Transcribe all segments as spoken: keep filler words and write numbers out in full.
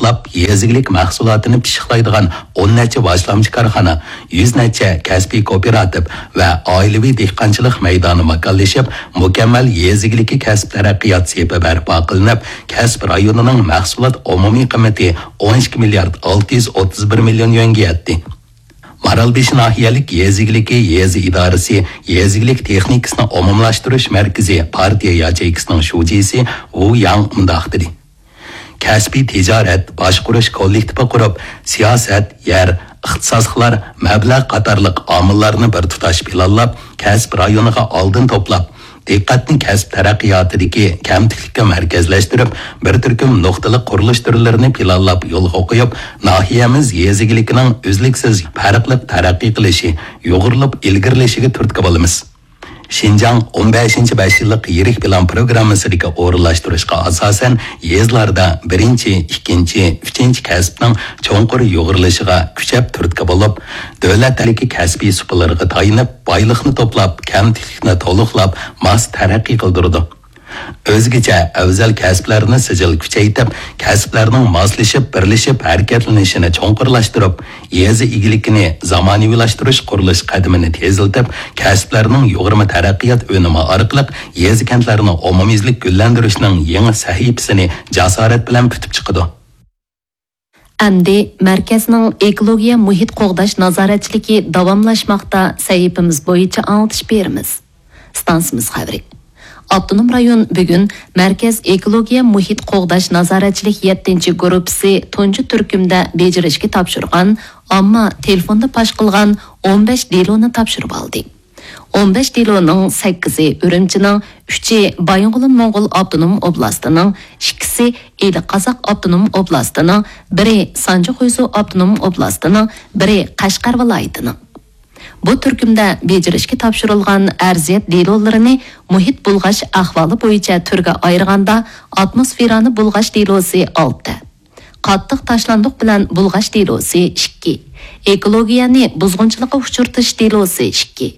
قوللاپ، يېزا ئىگىلىك مەھسۇلاتىنى پىششىقلايدىغان ئون نەچچە باشلامچى كارخانا، يۈز نەچچە كەسپىي كوپىراتىپ ۋە ئائىلىۋى دېھقانچىلىق مەيدانى ماكانلىشىپ، مۇكەممەل يېزا ئىگىلىكى كەسىپ تەرەققىيات سېپى بەرپا قىلىنىپ، كەسىپ رايونىنىڭ مەھسۇلات ئومۇمىي قىممىتى ئون ئىككى مىليارد ئالتە يۈز ئوتتۇز بىر مىليون يۈەنگە يەتتى. مارالبېشى ناھىيەلىك يېزا ئىگىلىكى يېزا ئىدارىسى يېزا ئىگىلىك تېخنىكىسىنى ئومۇملاشتۇرۇش مەركىزى پارتىيە ياچېيكىسىنىڭ شۇجىسى ۋۇ ياڭ مۇنداق دېدى: كەسپىي تىجارەت باشقۇرۇش كوللېكتىپى قۇرۇپ، سىياسەت، يەر، ئىختىساسلىقلار، مەبلەغ قاتارلىق ئامىللارنى بىر تۇتاش پىلانلاپ، كەسىپ رايونىغا ئالدىن توپلاپ، دىققەتنى كەسىپ تەرەققىياتىدىكى كەمتۈكلۈككە مەركەزلەشتۈرۈپ، بىر تۈركۈم نۇقتىلىق قۇرۇلۇش تۈرلىرىنى پىلانلاپ يولغا قويۇپ، ناھىيەمىز يېزا ئىگىلىكىنىڭ ئۈزلۈكسىز پەرقلىق تەرەققىي قىلىشى، يۇغۇرۇلۇپ ئىلگىرىلىشىگە تۈرتكە بولىمىز. شىنجاڭ ئون بەشىنچى بەش يىللىق يىرىك پىلان پروگراممىسىدىكى ئورۇنلاشتۇرۇشقا ئاساسەن، يېزىلاردا بىرىنچى، ئىككىنچى، ئۈچىنچى كەسىپنىڭ چوڭقۇر يۇغۇرۇلۇشىغا كۈچەپ تۈرتكە بولۇپ، دۆلەت ئەللىكى كەسپىي سۇپىلىرىغا تايىنىپ، بايلىقنى توپلاپ، كەمتۈكلۈكنى تولۇقلاپ، ماس تەرەققىي قىلدۇرىدۇ. ئۆزگىچە ئەۋزەل كەسىپلەرنى سىجىل كۈچەيتىپ، كەسىپلەرنىڭ ماسلىشىپ، بىرلىشىپ ھەرىكەتلىنىشىنى چوڭقۇرلاشتۇرۇپ، يېزا ئىگىلىكىنى زامانىۋىلاشتۇرۇش قۇرۇلۇش قەدىمىنى تېزلىتىپ، كەسىپلەرنىڭ يۇغۇرما تەرەققىيات ئۈنۈمى ئارقىلىق يېزا-كەنتلەرنى ئومۇميۈزلۈك گۈللەندۈرۈشنىڭ يېڭى سەھىپىسىنى جاسارەت بىلەن پۈتۈپ چىقىدۇ. ئەمدى مەركەزنىڭ ئېكولوگىيە مۇھىت قوغداش نازارەتچىلىكى داۋاملاشماقتا سەھىپىمىز بويىچە ئاڭلىتىش بېرىمىز. ئىستانسىمىز خەۋىرى. ئاپتونوم رايون بۈگۈن مەركەز ئېكولوگىيە مۇھىت قوغداش نازارەتچىلىك يەتتىنچى گۇرۇپپىسى تۇنجى تۈركۈمدە بېجىرىشكە تاپشۇرغان ئامما تېلېفوندا پاش قىلغان ئون بەش دېلونى تاپشۇرۇۋالدى. ئون بەش دېلونىڭ سەككىزى ئۈرۈمچىنىڭ، ئۈچى بايىنغولىن موڭغۇل ئاپتونوم ئوبلاستىنىڭ، ئىككىسى ئىلى قازاق ئاپتونوم ئوبلاستىنىڭ، بىرى سانجى خۇيزۇ ئاپتونوم ئوبلاستىنىڭ، بىرى قەشقەر ۋىلايىتىنىڭ. بۇ تۈركۈمدە بېجىرىشكە تاپشۇرۇلغان ئەرزىيەت دېلولىرىنى مۇھىت بۇلغاش ئەھۋالى بويىچە تۈرگە ئايرىغاندا، ئاتموسفېرانى بۇلغاش دېلوسى ئالتە، قاتتىق تاشلاندۇق بىلەن بۇلغاش دېلوسى ئىككى، ئېكولوگىيەنى بۇزغۇنچىلىققا ئۇچرىتىش دېلوسى ئىككى،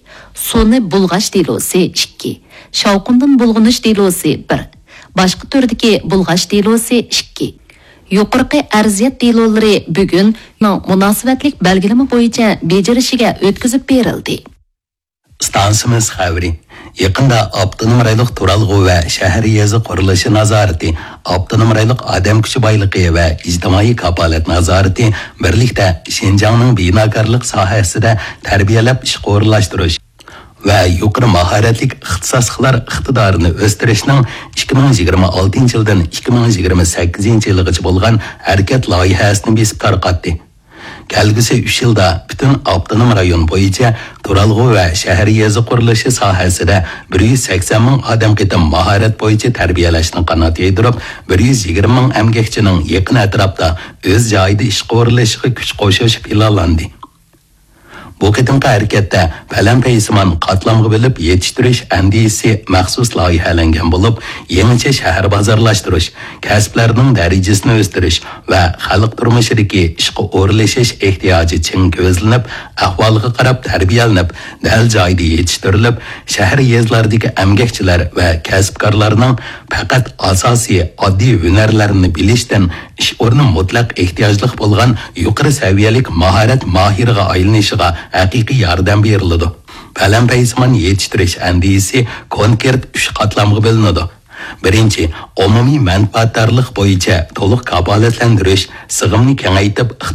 سۇنى بۇلغاش دېلوسى ئىككى، شاۋقۇندىن بۇلغىنىش دېلوسى بىر، باشقا تۈردىكى بۇلغاش دېلوسى ئىككى. يۇقىرىقى ئەرزىيەت دېلولىرى بۈگۈن مۇناسىۋەتلىك بەلگىلىمە بويىچە بېجىرىشىگە ئۆتكۈزۈپ بېرىلدى. ئىستانسىمىز خەۋىرى. يېقىندا ئاپتونوم رايونلۇق تۇرالغۇ ۋە شەھەر يېزا قۇرۇلۇشى نازارىتى، ئاپتونوم رايونلۇق ئادەم كۈچى بايلىقى ۋە ئىجتىمائىي كاپالەت نازارىتى بىرلىكتە شىنجاڭنىڭ بىناكارلىق ساھەسىدە تەربىيەلەپ ئىشقا ئورۇنلاشتۇرۇش ۋە يۇقىرى ماھارەتلىك ئىختىساسلىقلار ئىقتىدارىنى ئۆستۈرۈشنىڭ ئىككى مىڭ يىگىرمە ئالتىنچى يىلدىن ئىككى مىڭ يىگىرمە سەككىزىنچى يىلىغىچە بولغان ھەرىكەت لايىھەسىنى بېسىپ تارقاتتى. كەلگۈسى ئۈچ يىلدا پۈتۈن ئاپتونوم رايون بويىچە تۇرالغۇ ۋە شەھەر يېزا قۇرۇلۇشى ساھەسىدە بىر يۈز سەكسەن مىڭ ئادەم قېتىم ماھارەت بويىچە تەربىيەلەشنى قانات يايدۇرۇپ، بىر يۈز يىگىرمە مىڭ ئەمگەكچىنىڭ يېقىن ئەتراپتا ئۆز جايىدا ئىشقا ئورۇنلىشىشىغا كۈچ قوشۇش پىلانلاندى. بۇ قېتىمقى ھەرىكەتتە پەلەمپەيسىمان قاتلامغا بۆلۈپ يېتىشتۈرۈش ئەندىزىسى مەخسۇس لايىھەلەنگەن بولۇپ، يېڭىچە شەھەر بازارلاشتۇرۇش، كەسىپلەرنىڭ دەرىجىسىنى ئۆستۈرۈش ۋە خەلق تۇرمۇشىدىكى ئىشقا ئورۇنلىشىش ئېھتىياجى چىڭ كۆزلىنىپ، ئەھۋالغا قاراپ تەربىيەلىنىپ، دەل جايىدا يېتىشتۈرۈلۈپ، شەھەر يېزىلاردىكى ئەمگەكچىلەر ۋە كەسىپكارلارنىڭ پەقەت ئاساسىي ئاددىي ھۈنەرلەرنى بىلىشتىن ئىش ئورنى مۇتلەق ئېھتىياجلىق بولغان يۇقىرى سەۋىيەلىك ماھارەت ماھىرىغا ئايلىنىشىغا ھەقىقىي ياردەم بېرىلىدۇ. پەلەمپەيسىمان يېتىشتۈرۈش ئەندىزىسى كونكرېت ئۈچ قاتلامغا بۆلۈنىدۇ. بىرىنچى، ئومۇمىي مەنپەئەتدارلىق بويىچە تولۇق كاپالەتلەندۈرۈش، سىغىمنى كېڭەيتىپ،